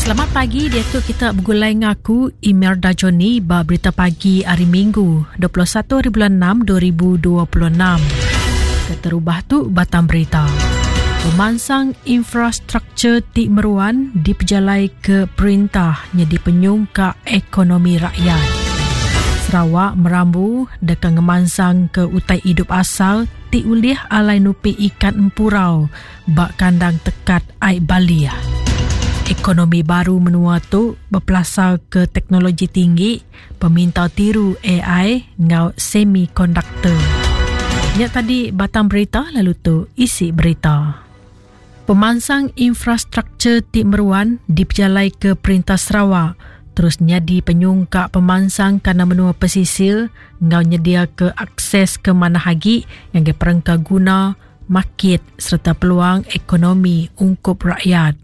Selamat pagi diatu kita begulai ngaku Imelda Johnny ba berita pagi hari Minggu 21 hari bulan 6 2026. Keterubah tu batang berita. Pemansang infrastruktur ti meruan dipejalai ke perintah nyadi penyungkak ekonomi rakyat. Sarawak merambu deka ngemansang ke utai idup asal ti ulih alai nupi ikan empurau ba kandang tekat ai Balih. Ekonomi baru menua tu bepelasar ke teknologi tinggi, pemintar tiru AI enggau semikonduktor. Nya tadi batang berita lalu tu isi berita. Pemansang infrastruktur ti meruan dipejalaika Perintah Sarawak terus nyadi penyungkak pemansang kandang menua pesisir enggau nyediaka akses ke manah agi ngagai perengka guna, makit sereta peluang ekonomi ungkup rakyat.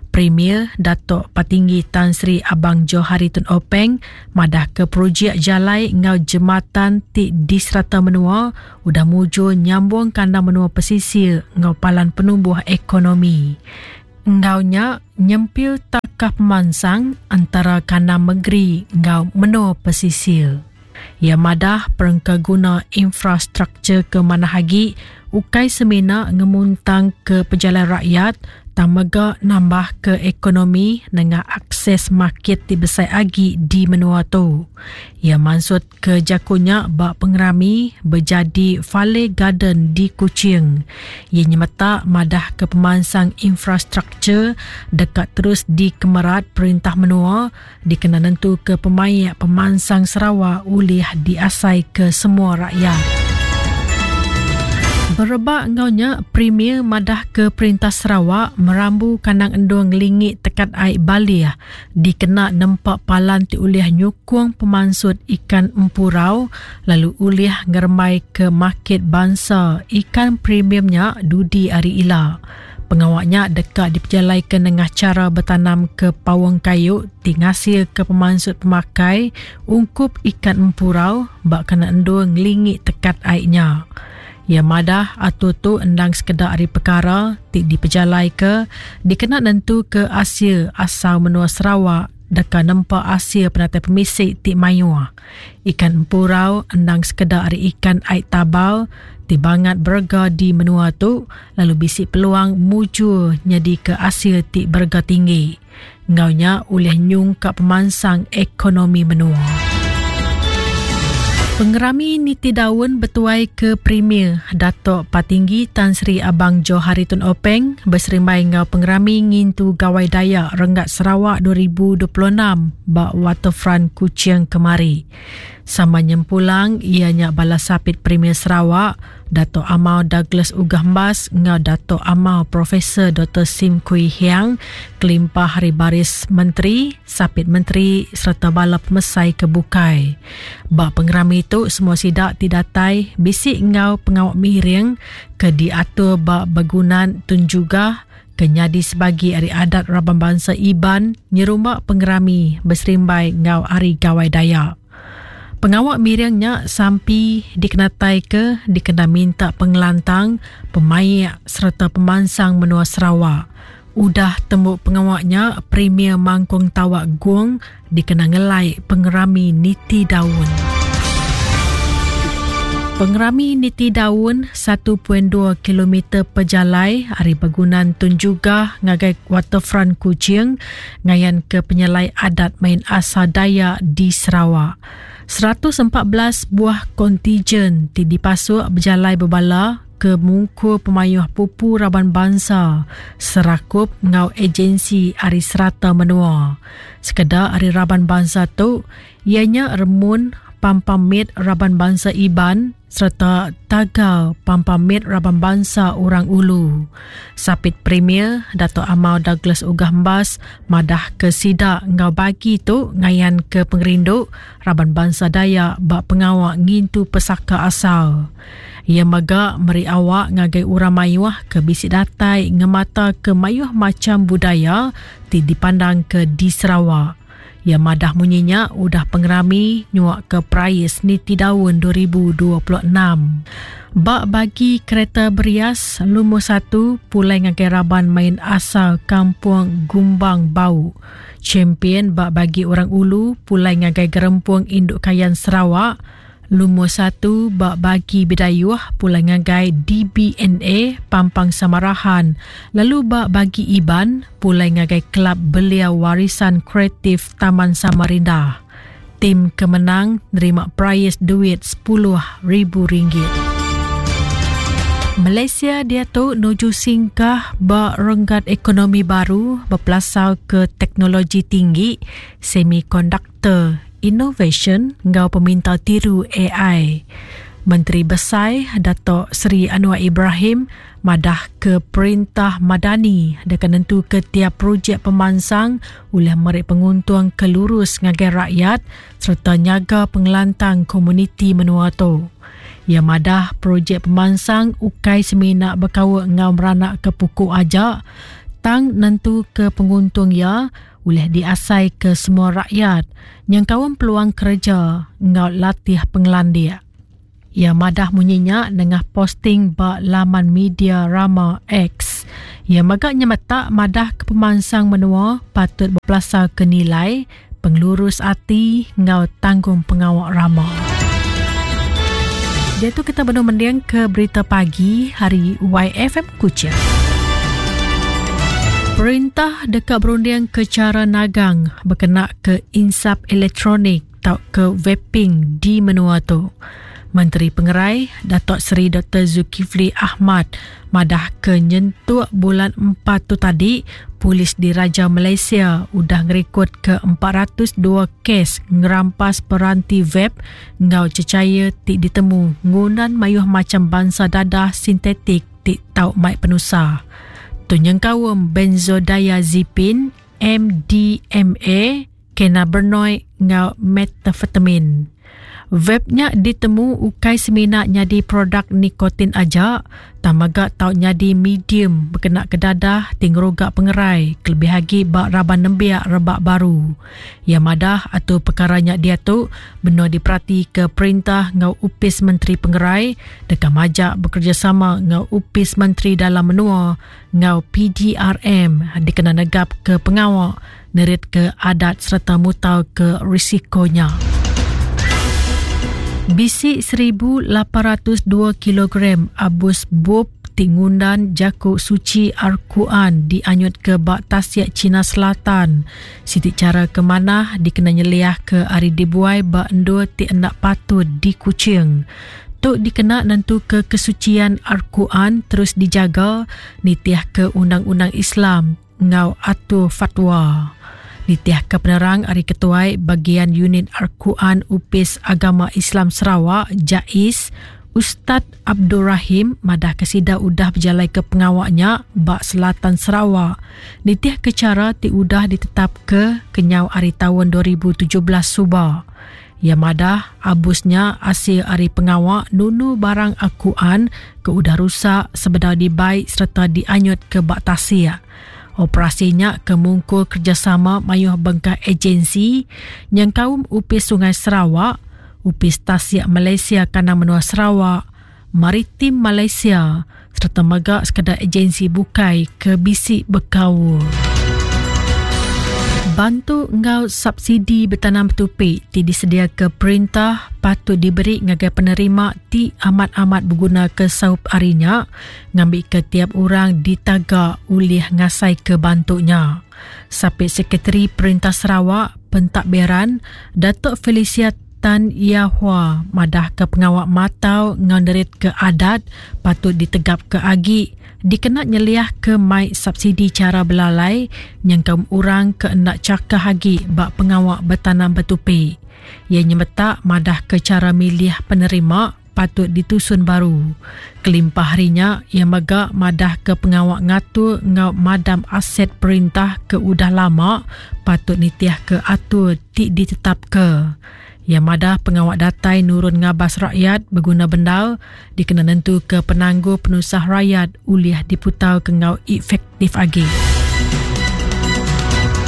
Premier Datuk Patinggi Tan Sri Abang Johari Tun Openg madahka projek jalai enggau jematan ti di serata menua udah mujur nyambung kandang menua pesisir enggau palan penumbuh ekonomi. Enggau nya, nyempil takah pemansang entara kandang mengeri enggau menua pesisir. Iya madah perengka guna infrastruktur ke manah agi ukai semina ngemuntangka pejalai rakyat tang mega nambahka ekonomi nengah akses makit ti besai agi di menua tu. Iya mansutka jaku nya ba pengerami bejadi Fale Garden di Kuching. Iya nyemetak madahka pemansang infrastruktur deka terus dikemerat perintah menua dikena nentuka pemaik pemansang Sarawak ulih diasaika semua rakyat. Berebak enggau nya, Premier madahka Perintah Sarawak merambu kandang endur ngelingi tekat ai Balih dikena nempa palan ti ulih nyukung pemansut ikan empurau lalu ulih ngerembaika makit bansa ikan premium nya dudi hari ila. Pengawa nya deka dipejalaika nengah chara betanamka paung kayu ti ngasilka pemansut pemakai ungkup ikan empurau ba kena endur ngelingi tekat ai nya. Iya madah atur tu endang sekeda ari pekara ti dipejalaika dikena nentuka asil asal menua Sarawak deka nempa asil penatai pemisi ti mayuh. Ikan empurau endang sekeda ari ikan ai tabal ti bangat berega di menua tu lalu bisi peluang mujur nyadika asil ti berega tinggi. Enggau nya ulih nyungkak pemansang ekonomi menua. Pengerami Niti Daun betuai ke Premier Datuk Patinggi Tan Sri Abang Johari Tun Openg beserimbai enggau pengerami ngintu Gawai Dayak Renggat Sarawak 2026 ba Waterfront Kuching kemari. Sama nyempulang iya nya bala sapit Premier Sarawak, Datuk Amar Douglas Uggah Embas enggau Datuk Amar Profesor Doktor Sim Kui Hiang kelimpah ari baris menteri, sapit menteri sereta bala pemesai ke bukai. Ba pengerami tu semua sida ti datai bisi enggau pengawa miring ke diatur ba Begunan Tun Jugah ke nyadi sebagi ari adat raban bansa Iban nyerumba pengerami beserimbai enggau Hari Gawai Dayak. Pengawa miring nya sampi dikenataika dikena minta pengelantang, pemaik sereta pemansang menua Sarawak. Udah tembu pengawa nya, Premier Mangkung Tawak Gong dikena ngelai pengerami niti daun. Pengerami niti daun 1.2 kilometer pejalai ari begunan Tun Jugah ngagai Waterfront Kuching ngayanka penyelai adat main asal Dayak di Sarawak. 114 buah kontijen ti dipasuk bejalai bebala ke mungkur pemayuh pupu raban bansa, serakup enggau ejensi ari serata menua. Sekeda ari raban bansa tu iya nya Remun Pampang Mit Raban Bansa Iban sereta Tagal Pampang Mit Raban Bansa Orang Ulu. Sapit Premier Datuk Amar Douglas Uggah Embas madahka sida enggau bagi tu ngayanka pengerindu raban bansa Dayak ba pengawa ngintu pesaka asal. Iya mega meri awak ngagai orang mayuh ke bisi datai ngemataka mayuh macham budaya ti dipandangka di Sarawak. Iya madah munyi nya udah pengerami nyuaka Perais Niti Daun 2026. Ba bagi kereta berias, lumur satu pulai ngagai raban main asal Kampung Gumbang Bau. Champion ba bagi Orang Ulu pulai ngagai Gerempung Indu Kayan Sarawak. Lumur satu ba bagi Bidayuh pulai ngagai DBNA Pampang Samarahan lalu ba bagi Iban pulai ngagai Kelab Belia Warisan Kreatif Taman Samarinda. Tim ke menang nerima perais duit sepuluh ribu ringgit. Malaysia diatu nuju singkah ba renggat ekonomi baru bepelasarka teknologi tinggi, semikonduktor, Te, inovasyen enggau peminta tiru ai. Menteri Besai Datuk Seri Anwar Ibrahim madah ke Perintah Madani deka nentuka tiap projek pemansang ulih meri penguntung ke lurus ngagai rakyat sereta nyaga pengelantang komuniti menua tu. Iya madah projek pemansang ukai semina bekaul enggau meranakka puku aja tang nentuka penguntung iya ulih diasaika semua rakyat nyengkaum peluang kereja enggau latih pengelandik. Iya madah munyi nya nengah posting ba laman media rama X. Iya mega nyemetak madahka pemansang menua patut bepelasarka nilai, pengelurus ati enggau tanggungpengawa rama. Diatu kita benung mendingka berita pagi hari YFM Kuching. Perintah deka berunding ke chara nagang bekena ke insap elektronik tauka vaping di menua tu. Menteri Pengerai, Datuk Seri Doktor Zulkifli Ahmad madah ke nyentuk bulan empat tu tadi, Polis Diraja Malaysia udah ngerikod ke 402 kes ngerampas peranti vape enggau cecair ti ditemu ngundan mayuh macham bansa dadah sintetik ti tau mai penusah. Tu nyengkaum benzodiazepine, MDMA, cannabinoid enggau methamphetamine. Vape nya ditemu ukai semina nyadi produk nikotin aja, tang mega tau nyadi medium bekenaka dadah ti ngeruga pengerai kelebih agi ba raban nembiak rebak baru. Iya madah atur pekara nya diatu benung diperatika perintah enggau Opis Menteri Pengerai deka majak bekerejasama enggau Opis Menteri Dalam Menua enggau PDRM dikena negapka pengawa neritka adat sereta mutarka risiko nya. Bisi 1802 kilogram abus bup ti ngundan jaku suchi Al-Quran dianyutka ba Tasik China Selatan, siti chara ke manah dikena nyeliahka ari dibuai ba endur ti enda patut di Kuching. Tu dikena nentuka kesuchian Al-Quran terus dijaga nitihka undang-undang Islam enggau atur fatwa. Nitihka penerang ari Ketuai Bagian Unit Al-Quran Opis Agama Islam Sarawak, JAIS, Ustaz Abdul Rahim madahka sida udah bejalaika pengawa nya ba selatan Sarawak nitihka chara ti udah ditetapka kenyau ari taun 2017 suba. Iya madah, abus nya asil ari pengawa nunu barang Al-Quran ke udah rusak sebedau dibai sereta dianyutka ba tasik. Operasi nya ke mungkur kerejasama mayuh bengkah ejensi nyengkaum Opis Sungai Sarawak, Opis Tasik Malaysia Kandang Menua Sarawak, Maritim Malaysia sereta mega sekeda ejensi bukai ke bisi bekaul. Bantu enggau subsidi betanam betupi ti disediaka perintah patut diberi ngagai penerima ti amat-amat begunaka saup ari nya ngambika tiap orang ditaga ulih ngasaika bantu nya. Sapit Sekretari Perintah Sarawak, Pentadbiran, Datuk Felicia Tan Ya Hua madahka pengawa matau enggau neritka adat patut ditegapka agi dikena nyeliahka mai subsidi chara belalai nyengkaum orang ke enda chakah agi ba pengawa betanam betupi. Iya nyemetak madahka chara milih penerima patut ditusun baru. Kelimpah ari nya, iya mega madahka pengawa ngatur enggau madam aset perintah ke udah lama patut nitihka atur ti ditetapka. Iya madah pengawa datai nurun ngabas rakyat beguna bendar dikena nentuka penanggul penusah rayat ulih diputarka enggau efektif agi.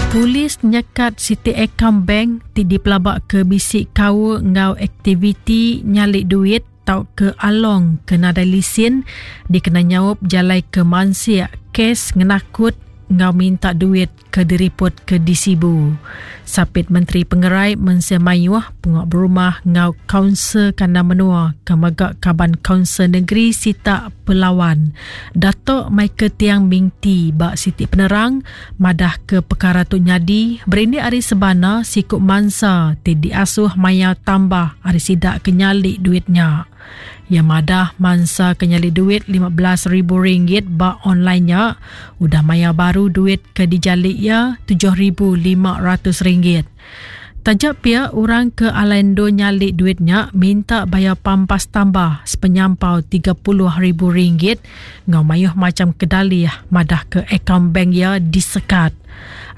Polis nyekat siti akaun bank ti dipelabaka bisi kaul enggau aktiviti nyali duit tauka along ke nadai lisin dikena nyaup jalai ke mansik kes ngenakut enggau minta duit ke diripotka di Sibu. Sapit Menteri Pengerai Mensia Mayuh, Pengawa Berumah enggau Kaunsil Kandang Menua ke mega Kaban Kaunsil Negeri Sitak Pelawan, Datuk Michael Tiang Ming Tee ba siti penerang madahka pekara tu nyadi berindik ari sebana siku mansa ti diasuh mayar tambah ari sida ke nyali duit nya. Iya madah mansa ke nyali duit 15 ribu ringgit ba online nya udah mayar baru duit ke dijali iya 7500 ringgit. Taja pia orang ke alai endur nyali duit nya minta bayar pampas tambah sepenyampau 30 ribu ringgit enggau mayuh macham kedalih madahka akaun bank iya disekat.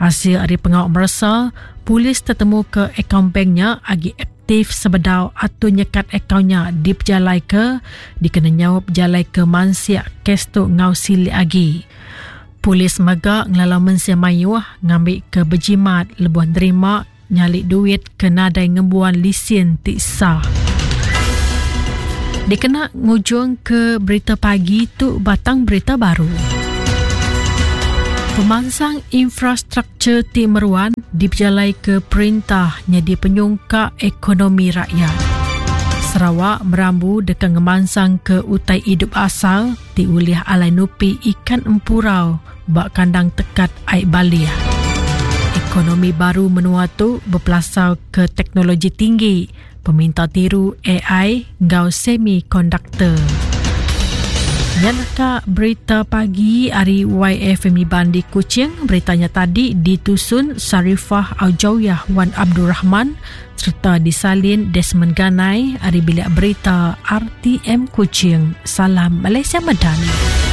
Asil ari pengawa meresa, polis tetemuka akaun bank nya agi aktif sebedau atur nyekat akaun nya dipejalaika dikena nyaup jalai ke mansik kes tu enggau silik agi. Polis mega ngelalau mensia mayuh ngambika bejimat lebuh nerima nyali duit ke nadai ngembuan lisin ti sah. Dikena ngujungka berita pagi tu batang berita baru. Pemansang infrastruktur ti meruan dipejalaika perintah nyadi penyungkak ekonomi rakyat. Sarawak merambu deka ngemansangka utai idup asal ti ulih alai nupi ikan empurau ba kandang tekat ai Baleh. Ekonomi baru menua tu bepelasarka teknologi tinggi, peminta tiru ai enggau semikonduktor. Nya naka berita pagi ari YFM Iban di Kuching. Berita nya tadi ditusun Sarifah Aujawiyah Wan Abdul Rahman sereta disalin Desmond Ganai ari Bilik Berita RTM Kuching. Salam Malaysia Madani.